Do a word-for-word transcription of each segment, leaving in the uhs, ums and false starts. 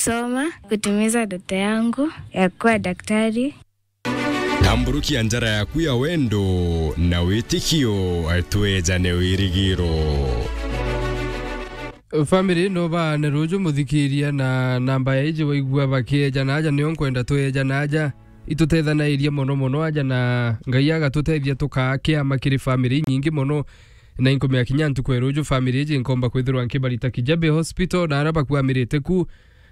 Soma kutimiza ndoto yangu ya kuwa daktari. Tamburukia njara yaku ya wendo na witikio, twejane wirigiro. Family no baane ruju muthikiria na namba ya iji waigua bakiejana aja, nio nkwenda twejana aja. Itutethanairie mono mono aja, na Ngai agatutethia tukaa kiama kiri family inyingi mono. Na inkumia kinya ntuku ya ruju, family iji nkomba kwithirwa nkibarita Kijabe Hospital, na ara bakuamirite ku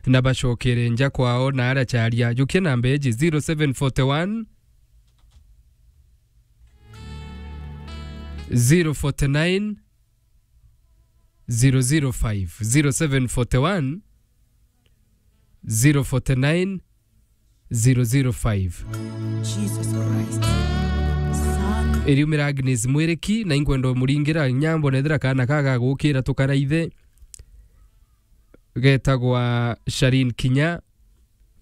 na bacokere nja kwao na ara charia. Jukia namba iji: zero seven forty one, zero forty nine, zero zero five, zero seven forty one, zero forty nine, zero zero five. Jesus Christ. Son. Iriumira Agnes Mwiriki, na inkwenda umuringira nyambo nethira kana kaga gukira tukaraithe. Getagwa Sharin Kinya.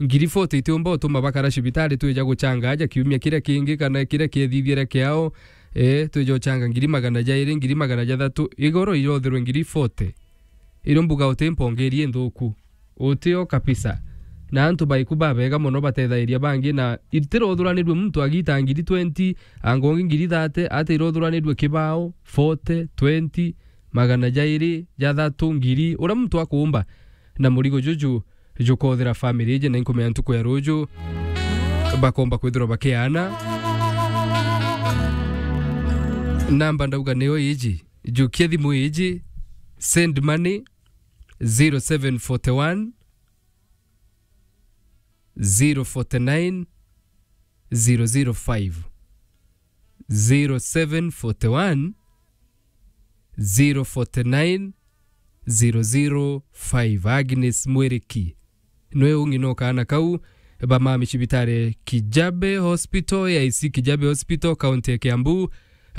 Ngiri forty itiumba utuma bakara cibitari, twija guchanga aja kiumia kiria kingi kana kiria kiethithire kiao. Eh, twija uchanga ngiri magana jairi, ngiri magana jathatu, igoro irothirwe ngiri forty. Irio mbuga uti mpongerie nthuku. Utio kabisa. Na antu baiku babega mono batethairia bangi, na itirothuranirirwe muntu agita ngiri twenty, angongi ngiri thirty, ati irothuranirirwe kibao, forty, twenty, magana jairi, jathatu, ngiri, uria muntu akuumba. Na murigo juju jukothira family iji, na inkumenya ntuku ya ruju bakomba kwithirwa bakiana. Namba ndauga niyo iji. Jukia thimu iji, send money, zero seven forty one, zero forty nine, zero zero five. Zero seven forty one, zero forty nine, zero zero five. Agnes Mwiriki. Nwe ungi no kaana kau, ba mami cibitari Kijabe Hospital, A I C Kijabe Hospital, kaunti ya Kiambu,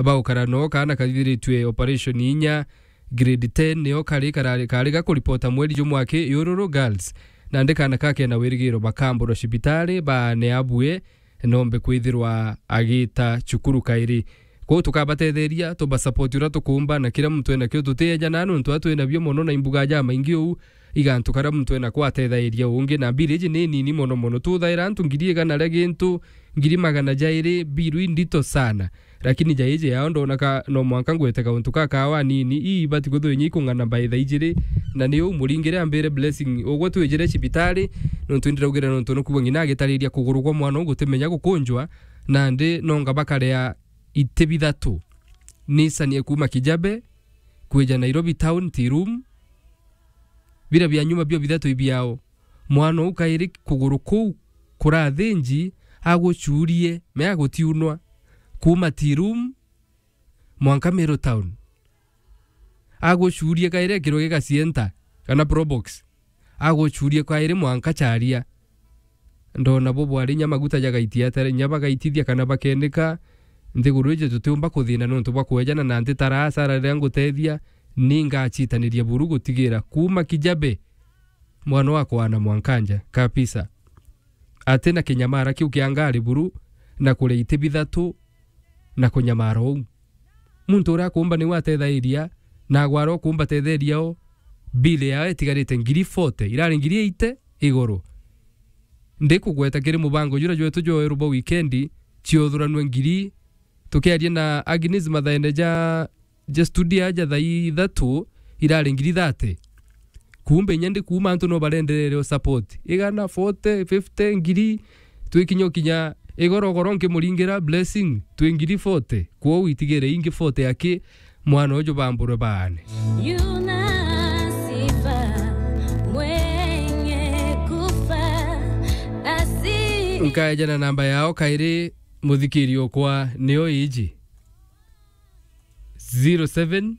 bagukara no kaana kathiritwe operation inya, grade ten, nio kari karari, kari gakuripota mweri jumwe aki Yururu Girls. Nandi kaana kake na wirigiro bakamburwa cibitari, baane abue, nombe kwithirwa agita cukuru kairi. Kwou tukabatetheria, tubasupport uria tukumba, na kiria muntu enakio tutiejana, nontu a twinabio mono na imbuga jamaingi uu, igantu karia muntu enako ateethairia ungi, na bill iji ni nini mono mono. Tuthaira antu ngiri igana ria gintu, ngiri magana jairi, bill indito sana. Lakini ja iji yao ndona ka no mwanka ngwete kauntu ka kawa nini, ii ibati kwithirwa inya ikung'ana by thaa ijiri, na ni uu muringire ambire Blessing, ugwe twijire cibitari, nontu indiraugire nontu nukuwa ng'ina agitariria kuguru kwa mwana uu gutimenya gukunjwa, nandi nonga bakarea iti bithatu. Nisanie kuuma Kijabe, kwija Nairobi town, Tea Room, bira bia nyuma bio bithatu ibiao. Mwana uu kairi kuguru kuu kurathinji, agucurie, me agutiunwa, kuuma Tea Room mwanka Meru town. Agucurie kairi ekirwe gigacienta, kana Probox. Agucurie kairi mwanka Charia. Ndona bo bwari inya maguta jagaitia atare, inya bagaitithia kana bakenika. Nthiguru iji tutiumba kuthina nontu bwa kwejana, na ntitaraa asara riria ngutethia, ni ngacitaniria buru gutigira kuuma Kijabe, mwana wakwa na mwanka nja, kabisa. Ati na kinyamara kiu kia ngari buru, na kuria iti bithatu, na kunyamara uu. Muntu uria akumba niwe ateethairia, na agwara ukumba teetheria o, bill yao itigarite ngiri forty, irari ngiri eighty iguru. Ndikugweta kiri mubango juria jwetu jwa weru bwa wikendi, ciothuranue ngiri, tukiaria na Agnes mathaene ja, ja studio aja thaa ithatu, irari ngiri thirty. Kumbe inya ndi kuuma antu no barenderere o support. Igana, forty, fifty, ngiri, twikinya ukinya igorogoro nkimuringira Blessing, twi ngiri forty. Kwou itigire ingi forty aki mwana uju bamburwe baane. Yuna sifa mwenye kufa asi. Nkaejana namba yao kairi muthikiri okwa niyo iji. Zero seven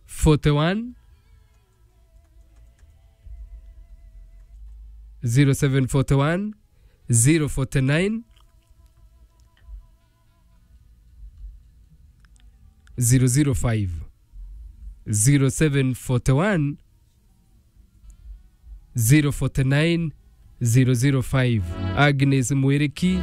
forty one, zero seven forty one, zero forty nine, zero zero five, zero seven forty one, zero forty nine, zero zero five. Agnes Mwiriki,